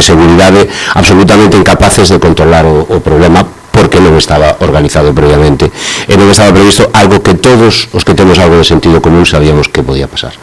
seguridade absolutamente incapaces de controlar o problema, porque non estaba organizado previamente e non estaba previsto, algo que todos os que temos algo de sentido común sabíamos que podía pasar.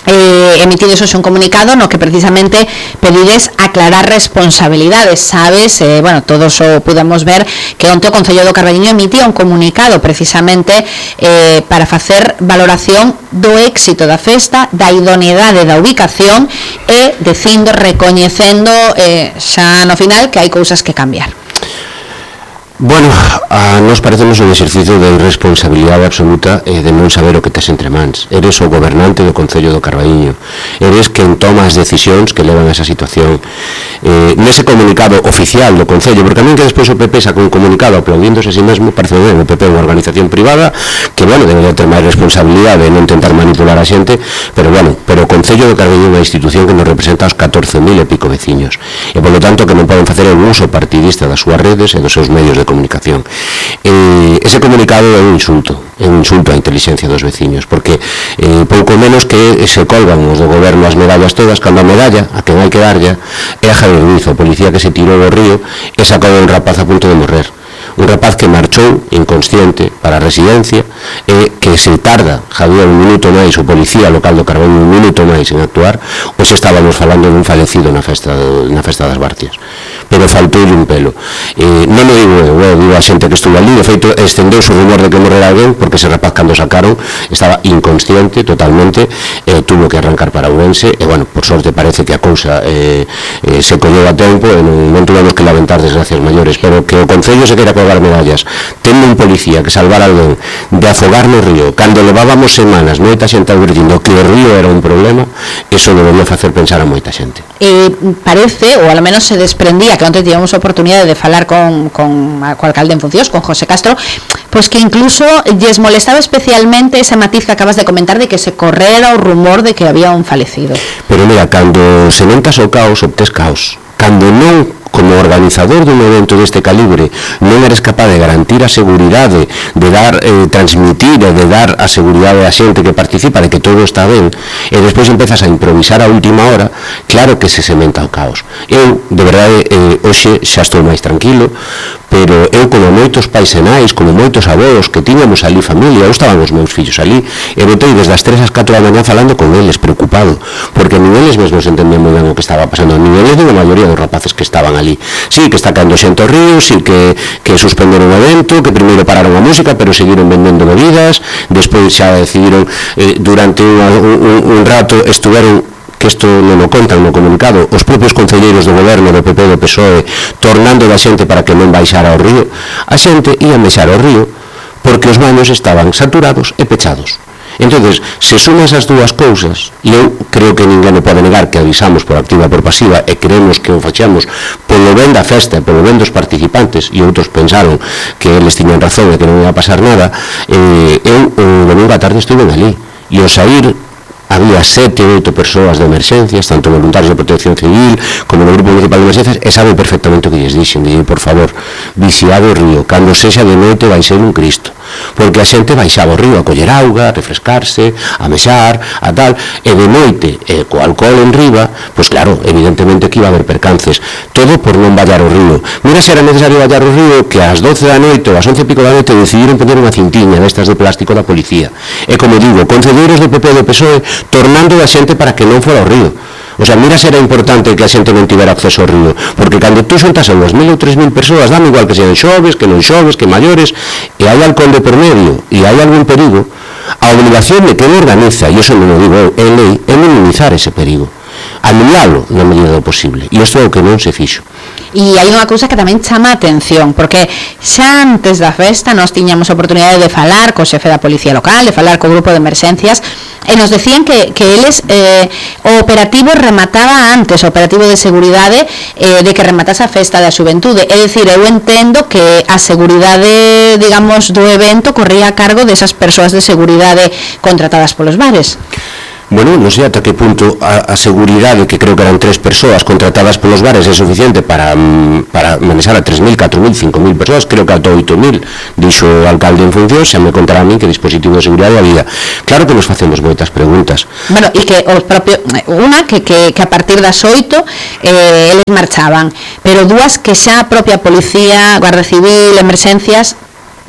Emitides hoxe un comunicado no que precisamente pedides aclarar responsabilidades, sabes, todos o pudemos ver que onte o Concello do Carballiño emitía un comunicado precisamente para facer valoración do éxito da festa, da idoneidade da ubicación e dicindo, recoñecendo xa no final que hai cousas que cambiar. Bueno, a nos parecemos un exercicio de irresponsabilidade absoluta de non saber o que tes entre mans. Eres o gobernante do Concello do Carballiño, eres quen toma as decisións que levan a esa situación. Nese comunicado oficial do Concello, porque a min que despois o PP saca un comunicado aplaudíndose a si mesmo, parece ben, o PP é unha organización privada que, debería ter máis responsabilidade e non tentar manipular a xente, pero o Concello do Carballiño é unha institución que nos representa aos 14.000 e pico veciños, e polo tanto que non poden facer un uso partidista das súas redes e dos seus medios de comunicación. Ese comunicado é un insulto á inteligencia dos veciños, porque pouco menos que se colgan os do goberno as medallas todas, cando a medalla a quen hai que darlla é a Javier Ruiz, o policía que se tirou do río e sacou a un rapaz a punto de morrer, un rapaz que marchou inconsciente para a residencia e que se tarda Javier un minuto máis, o policía local do Carballiño un minuto máis en actuar, pois estábamos falando dun falecido na festa das Barcias, pero faltou un pelo. Non o digo eu, digo a xente que estuvo ali, de feito estendeuse o rumor de que morrera alguén, porque ese rapaz cando sacaron estaba inconsciente totalmente, tuvo que arrancar para Ourense, e por sorte parece que a cousa se colleu a tempo e non tuvemos que lamentar desgracias maiores, pero que o Concello se queira colgar medallas tendo un policía que salvar a alguén de afogar no río, cando levábamos semanas moita xente advertindo que o río era un problema, eso debería facer pensar a moita xente. Parece, ou ao menos se desprendía, que onte tivemos a oportunidade de falar con o alcalde en funcións, con José Castro, pois que incluso lles molestaba especialmente ese matiz que acabas de comentar de que se correra o rumor de que había un falecido. Pero mira, cando se montas o caos, obtes caos. Cando non, como organizador dun evento deste calibre, non eres capaz de garantir a seguridade, de dar, transmitir e de dar a seguridade a xente que participa de que todo está ben, e despois empezas a improvisar a última hora, claro que se sementa o caos. Eu, de verdade, hoxe xa estou máis tranquilo, pero eu, como moitos pais e nais, como moitos avós que tiñamos ali familia, eu estaban os meus fillos ali, e botei desde as 3 ás 4 da mañá falando con eles, preocupado, porque nin eles mesmos entendían moi ben o que estaba pasando, nin eles nin a maioría dos rapaces que estaban ali. Sí, que está caendo xente ao río, sí que suspenderon o evento, que primeiro pararon a música, pero seguiron vendendo bebidas, despois xa decidiron, durante un rato estuveron, que isto non o contan no comunicado, os propios concelleiros do goberno do PP e do PSOE tornando da xente para que non baixara ao río. A xente ia baixar ao río porque os baños estaban saturados e pechados. Entonces, se sumas as dúas cousas, e eu creo que ninguén pode negar que avisamos por activa e por pasiva e creemos que o fachamos polo ben da festa e polo ben dos participantes, e outros pensaron que eles tiñan razón e que non ia pasar nada, eu o domingo á tarde estuve ali, e ao sair había 7 ou 8 persoas de emerxencias, tanto voluntarios de protección civil como do Grupo Municipal de Emerxencias, e saben perfectamente o que lles dixen, por favor, vixiado o río, cando sexa de noite vai ser un Cristo, porque a xente baixaba ao río a coller auga, a refrescarse, a mexar, a tal, e de noite, co alcohol en riba, pois claro, evidentemente que iba a haber percances, todo por non vallar o río. Mira se era necesario vallar o río, que ás 12 da noite ou ás 11 e pico da noite decidiron poner unha cintiña destas de plástico da policía, e como digo, concelleiros do PP e do PSOE tornando da xente para que non fora ao río. O sea, mira se era importante que a xente non tivera acceso ao río, porque cando tú xuntas a 2.000 ou 3.000 persoas, dame igual que sean xoves, que non xoves, que maiores, e hai alcohol de por medio, e hai algún perigo, a obligación de que non organiza, e iso non o digo eu, é lei, é minimizar ese perigo, anulalo na medida do posible, e isto é o que non se fixo. E hai unha cousa que tamén chama a atención, porque xa antes da festa nós tiñamos a oportunidade de falar co xefe da Policía Local, de falar co grupo de emerxencias, e nos decían que eles, o operativo remataba antes, o operativo de seguridade de que rematase a festa da xuventude. É dicir, eu entendo que a seguridade, digamos, do evento corría a cargo desas persoas de seguridade contratadas polos bares. Bueno, non sei ata que punto a seguridade, que creo que eran 3 persoas contratadas polos bares, é suficiente para manexar a 3.000, 4.000, 5.000 persoas, creo que ata 8.000, dixo o alcalde en función, xa me contará a mí que dispositivo de seguridade había. Claro que nos facemos moitas preguntas. Bueno, e que os propios, unha que a partir das 8 eles marchaban, pero dúas que xa a propia policía, Guardia Civil, emerxencias,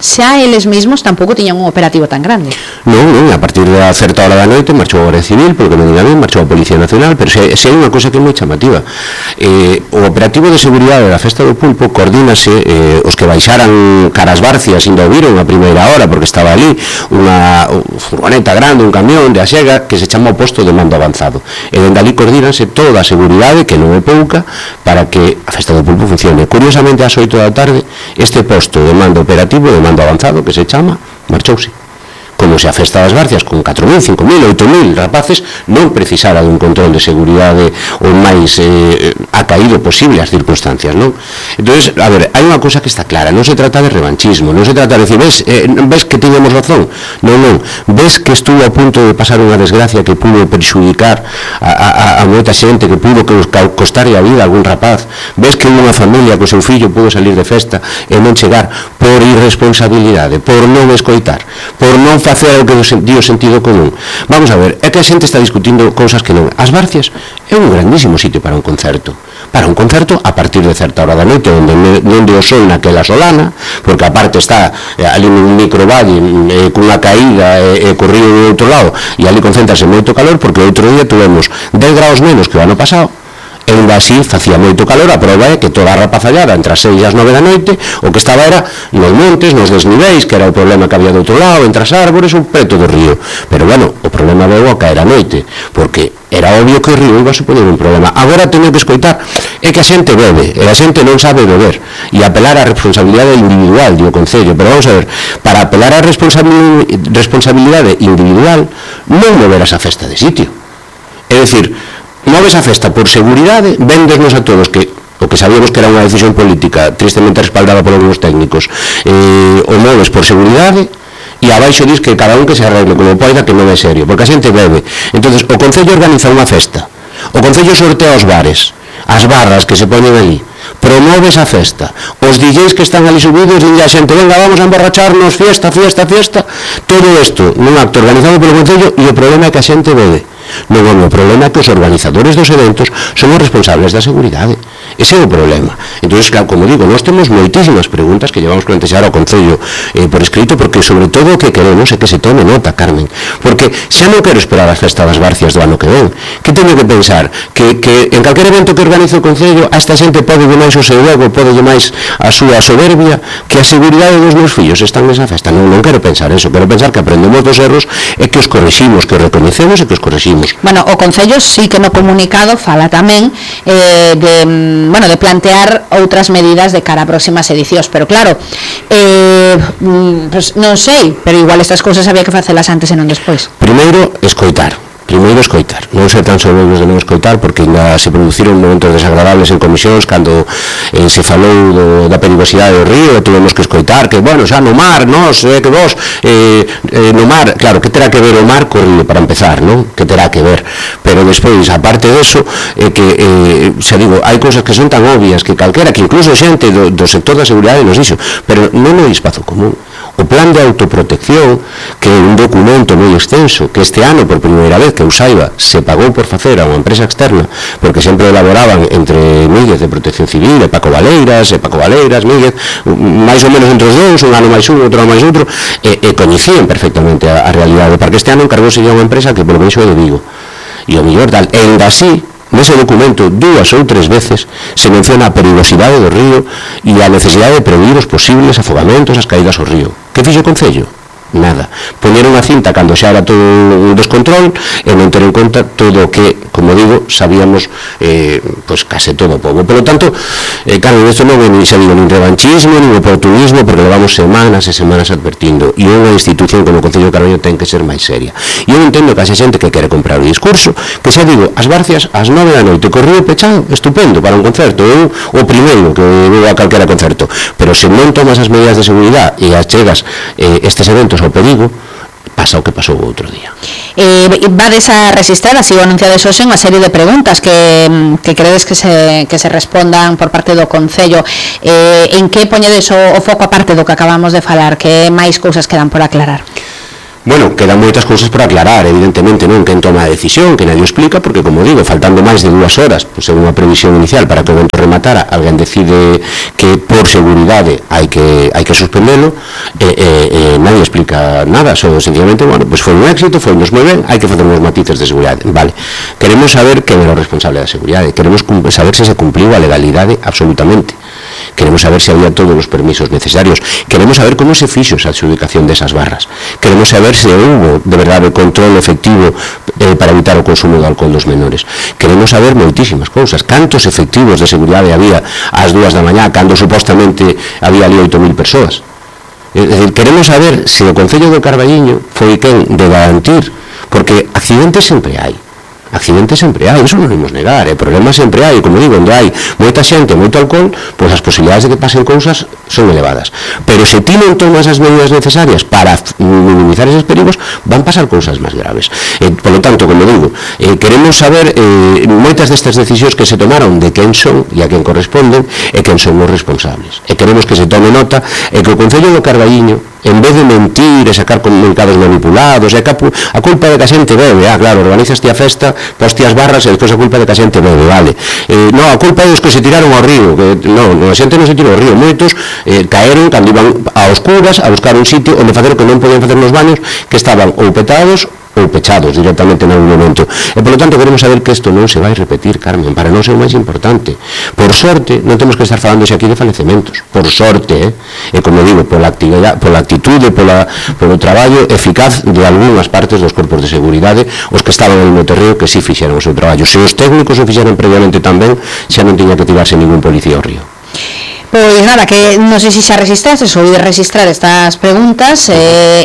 xa eles mesmos tampouco tiñan un operativo tan grande. Non, a partir da certa hora da noite marchou a Guardia Civil, porque me diga ben, marchou a Policía Nacional, pero se hai unha cosa que é moi chamativa. O operativo de seguridade da Festa do Pulpo coordínase, os que baixaran caras Barcias ainda o viron a primeira hora, porque estaba ali unha furgoneta grande, un camión de Axega, que se chama o posto de mando avanzado. E dende ali coordínase toda a seguridade, que non é pouca, para que a Festa do Pulpo funcione. Curiosamente, ás 8 da tarde, este posto de mando operativo, de mando avanzado, que se chama, marchouse. Como se a Festa das Barcias con 4.000, 5.000, 8.000 rapaces non precisara dun control de seguridade o máis acaído posible as circunstancias, non? Entonces, a ver, hai unha cosa que está clara, non se trata de revanchismo, non se trata de decir, ves que tiñamos razón, non, ves que estuvo a punto de pasar unha desgracia que pudo perxudicar a moita xente, que pudo costarlle a vida a algún rapaz, ves que unha familia co seu fillo pudo salir de festa e non chegar por irresponsabilidade, por non escoitar, por non facer o que di o sentido común. Vamos a ver, é que a xente está discutindo cousas que non. As Barcias é un grandísimo sitio para un concerto a partir de certa hora da noite, onde o sol naquela solana, porque aparte está ali nun microvalle cunha caída e corrido do outro lado, e ali concéntrase moito calor, porque outro día tuvemos 10 graus menos que o ano pasado, e ainda así facía moito calor. A prova é que toda a rapazallada entre as 6 e as 9 da noite o que estaba era nos montes, nos desniveis, que era o problema que había do outro lado, entre as árbores ou preto do río. Pero bueno, o problema veu a caer a noite, porque era obvio que o río iba a supoñer un problema. Agora teño que escoitar é que a xente bebe, e a xente non sabe beber, e apelar á responsabilidade individual, di o Concello. Pero vamos a ver, para apelar á responsabilidade individual non moverás a festa de sitio. É dicir, moves a festa por seguridade, vendesnos a todos que o que sabíamos que era unha decisión política tristemente respaldada por algunos técnicos, o moves por seguridade, e abaixo dis que cada un que se arregle como poida, que non é serio, porque a xente bebe. Entonces o Concello organiza unha festa, o Concello sortea os bares, as barras que se poñen ali, promove esa festa, os DJs que están ali subidos, dinlle a xente, venga, vamos a emborracharnos, fiesta, todo isto nun acto organizado polo Concello, e o problema é que a xente bebe. Non é o problema que os organizadores dos eventos son os responsables da seguridade. Ese é o problema. Entón, claro, como digo, nós temos moitísimas preguntas que llevamos plantexar ao Concello por escrito, porque sobre todo o que queremos é que se tome nota, Carmen, porque xa non quero esperar a Festa das Barcias do ano que ven, que teño que pensar que en calquer evento que organice o Concello a esta xente pode máis o seu ego, pode máis a súa soberbia, que a seguridade dos meus fillos están nesa festa. Non quero pensar eso, quero pensar que aprendemos dos erros e que os corriximos, que os recoñecemos e que os corriximos. Bueno, o Concello sí que no comunicado fala tamén de plantear outras medidas de cara a próximas edicións, pero claro, pues non sei, pero igual estas cousas había que facelas antes e non despois. Primeiro, escoitar, non ser tan soberbos de non escoitar, porque ainda se produciron momentos desagradables en comisións cando se falou da perigosidade do río, e tuvemos que escoitar que, bueno, xa no mar, que vos no mar, claro, que terá que ver o mar co río para empezar, non? Que terá que ver, pero despois, aparte deso, que, xa digo, hai cousas que son tan obvias que calquera, que incluso xente do sector da seguridade nos dixo, pero non é espazo común. O plan de autoprotección, que é un documento moi extenso, que este ano, por primeira vez que eu saiba, se pagou por facer a unha empresa externa, porque sempre elaboraban entre Míguez de Protección Civil, e Paco Valeiras, Míguez, máis ou menos entre os dous, un ano máis un, outro ano máis outro, e coñecían perfectamente a realidade, porque este ano encargouse a unha empresa que polo menos é de Vigo, e o mellor tal, e ainda así, nese documento 2 ou 3 veces se menciona a perigosidade do río e a necesidade de prevenir os posibles afogamentos, as caídas ao río. Que fixo o Concello? Nada. Poñeron a cinta cando xa era todo un descontrol e non ter en conta todo o que, como digo, sabíamos pois case todo o povo. Por lo tanto, Carmen, isto non é nin revanchismo, nin oportunismo, porque levamos semanas e semanas advertindo, e unha institución como o Concello de Carballo ten que ser máis seria. E eu entendo que a xente que quere comprar o discurso, que xa digo, as Barcias ás 9 da noite, corrido pechado, estupendo para un concerto, eu o primeiro que vou a calquera concerto, pero se non tomas as medidas de seguridade e achegas estes eventos ao perigo, pasa o que pasou o outro día. Vades a registrar, así o anunciades hoxe, unha serie de preguntas que credes que se respondan por parte do Concello. En que poñedes o foco aparte do que acabamos de falar? Que máis cousas quedan por aclarar? Bueno, quedan moitas cousas por aclarar, evidentemente, non quen toma a decisión, que nadie o explica, porque, como digo, faltando máis de 2 horas, pois é unha previsión inicial para que o evento rematara, alguén decide que por seguridade hai que suspendelo, nadie explica nada, só sencillamente, bueno, pois foi un éxito, foi moi ben, hai que facer uns matices de seguridade. Vale, queremos saber quen era o responsable da seguridade, queremos saber se compliu a legalidade absolutamente. Queremos saber se había todos os permisos necesarios, queremos saber como se fixo esa adjudicación desas barras, queremos saber se houve de verdade control efectivo para evitar o consumo de alcohol dos menores, queremos saber moitísimas cousas, cantos efectivos de seguridade había ás 2 da mañá, cando supostamente había ali 8.000 persoas. É dicir, queremos saber se o Concello do Carballiño foi quen de garantir, porque accidentes sempre hai, iso non imos negar, problemas sempre hai, como digo, onde hai moita xente, moito alcohol, pois as posibilidades de que pasen cousas son elevadas, pero se ti non tomas as medidas necesarias para minimizar eses perigos, van pasar cousas máis graves. Por lo tanto, como digo, queremos saber moitas destas decisións que se tomaron de quen son e a quen corresponden e quen son os responsables, e queremos que se tome nota e que o Concello do Carballiño, en vez de mentir e sacar comunicados manipulados, a culpa de que a xente bebe, claro, organizaste a festa, poste as barras e despois a culpa de que a xente bebe, vale, non, a culpa é dos que se tiraron ao río, non, a xente non se tirou ao río, moitos caeron cando iban a oscuras a buscar un sitio onde facer o que non podían facer nos baños, que estaban ou petados ou pechados directamente en algún momento, e polo tanto queremos saber que isto non se vai repetir, Carmen, para non ser o máis importante. Por sorte non temos que estar falando aquí de falecementos, por sorte, e como digo, pola actitude, polo traballo eficaz de algunhas partes dos corpos de seguridade, os que estaban no terreo, que si fixeron o seu traballo. Se os técnicos o fixeron previamente tamén, xa non tiña que tirarse ningún policía ao río. Pois nada, que non sei se xa registraste ou de registrar estas preguntas,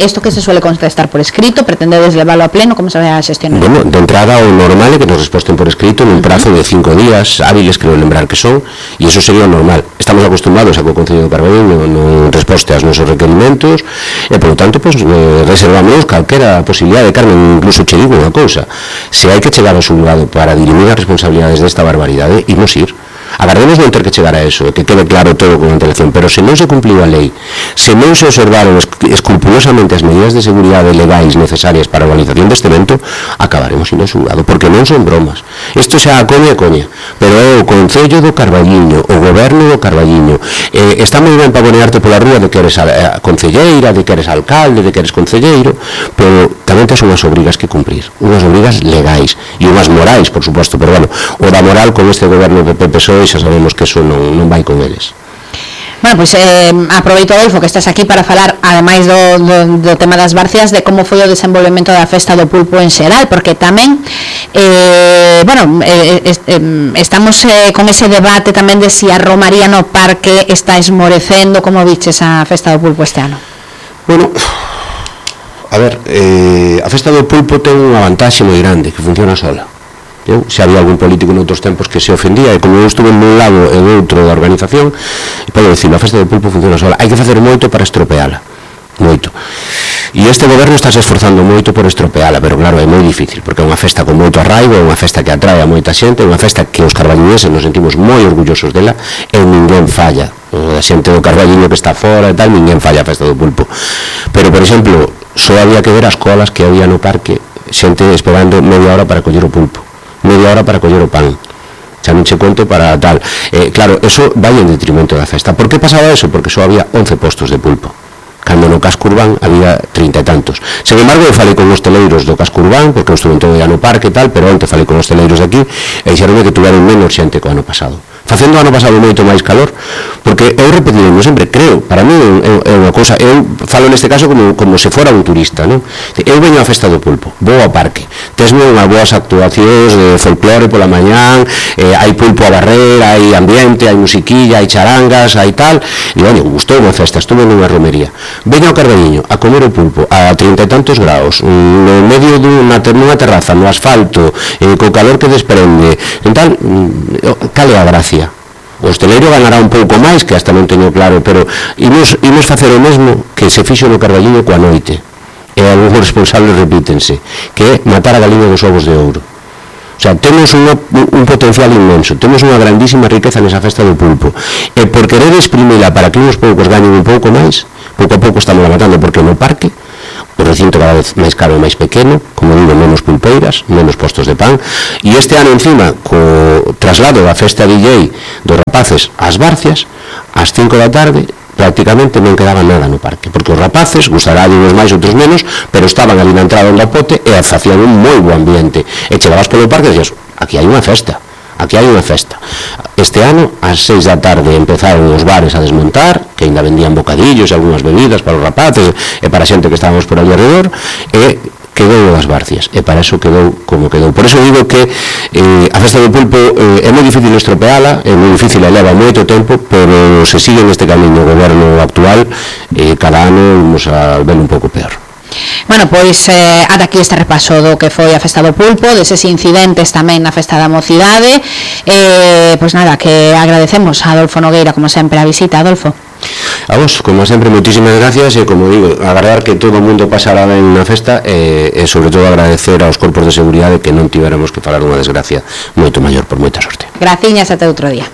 isto que se suele contestar por escrito, pretendedes leválo a pleno, como se vai a xestionar? Bueno, de entrada o normal é que nos resposten por escrito nun prazo de 5 días hábiles, creo lembrar que son, e iso sería o normal. Estamos acostumbrados a que o Concello do Carballiño non resposte aos nosos requerimentos e, por lo tanto, pues, reservamos calquera posibilidade. Carmen, incluso che digo unha cousa, se hai que chegar ao xulgado para dirimir as responsabilidades desta barbaridade, imos ir. Agardemos non ter que chegar a eso, que quede claro todo con antelación, pero se non se cumpliu a lei, se non se observaron escrupulosamente as medidas de seguridade legais necesarias para a organización deste evento, acabaremos indo ao xulgado, porque non son bromas. Isto xa a coña, pero é o Concello do Carballiño, o Goberno do Carballiño, está moi ben pavonearte pola rúa de que eres concelleira, de que eres alcalde, de que eres concelleiro, pero tamén tens unhas obrigas que cumprir, unhas obrigas legais e unhas morais, por suposto, pero bueno, o da moral con este goberno de PP-PSOE xa sabemos que eso non vai con eles. Bueno, pois aproveito, Adolfo, que estás aquí para falar, ademais do tema das barcias, de como foi o desenvolvemento da festa do pulpo en xeral, porque tamén estamos con ese debate tamén de si a romaría no parque está esmorecendo. Como viches a festa do pulpo este ano? Bueno, a ver, a festa do pulpo ten unha vantaxe moi grande, que funciona sola. Se había algún político noutros tempos que se ofendía, e como eu estuve nun lado e outro da organización, podo dicirlo, a festa do pulpo funciona sola. Hai que facer moito para estropeala, moito, e este goberno está se esforzando moito por estropeala, pero claro, é moi difícil, porque é unha festa con moito arraigo, é unha festa que atrae a moita xente, é unha festa que os carballiñeses nos sentimos moi orgullosos dela, e ninguén falla. A xente do Carballiño que está fora e tal, ninguén falla a festa do pulpo, pero, por exemplo, só había que ver as colas que había no parque, xente esperando media hora para coller o pulpo, media hora para coller o pan, xa non che conto para tal. Claro, eso vai en detrimento da festa. Por que pasaba eso? Porque só había 11 postos de pulpo, cando no casco urbán había 30 e tantos. Sen embargo, eu falei con os teleiros do casco urbán, porque eu estuve en todo o no parque e tal, pero onte falei con os teleiros de aquí e dixeronme que tuveron menos xente que o ano pasado, facendo o ano pasado moito máis calor, porque eu repetindo sempre, creo, para mí é unha cousa, eu falo neste caso como se fora un turista, non? Eu veño á festa do pulpo, vou ao parque, tesme unhas boas actuacións de folclore pola mañán, hai pulpo a barrer, hai ambiente, hai musiquilla, hai charangas, hai tal, e olha, gustou unha festa, estuve nunha romería. Veño ao Carballiño a comer o pulpo a 30 e tantos graus, no medio nunha terraza, no asfalto, co calor que desprende, e tal, cale a gracia. O hosteleiro ganará un pouco máis, que hasta non teño claro, pero imos facer o mesmo que se fixo no Carballiño coa noite. e algúns responsables repítense, que é matar a galiña dos ovos de ouro. O sea, temos un potencial inmenso, temos unha grandísima riqueza nesa festa do pulpo, e por querer exprimila para que uns poucos gañen un pouco máis, pouco a pouco estamos matando, porque no parque o recinto cada vez máis caro e máis pequeno, como digo, menos pulpeiras, menos postos de pan, e este ano encima, co traslado da festa DJ dos rapaces ás Barcias, ás 5 da tarde, prácticamente non quedaba nada no parque, porque os rapaces, gustará de uns máis, outros menos, pero estaban ali na entrada do pote e facían un moi bo ambiente, e chegabas polo parque e dixas, aquí hai unha festa, aquí hai unha festa. Este ano, ás 6 da tarde, empezaron os bares a desmontar, que ainda vendían bocadillos e algunhas bebidas para os rapaces e para a xente que estábamos por ali alrededor, e quedou das Barcias, e para eso quedou como quedou. Por eso digo que a festa do pulpo é moi difícil estropeala, é moi difícil, leva moito tempo, pero se sigue neste camiño o goberno actual, cada ano vamos a ver un pouco peor. Bueno, pois ata aquí este repaso do que foi a festa do pulpo, deses incidentes tamén na festa da mocidade. Pois nada, que agradecemos a Adolfo Nogueira, como sempre, a visita. Adolfo, a vos, como sempre, moitísimas gracias, e como digo, agardar que todo o mundo pasara ben na festa, e sobre todo agradecer aos corpos de seguridade que non tivéramos que falar unha desgracia moito maior, por moita sorte. graciñas, até outro día.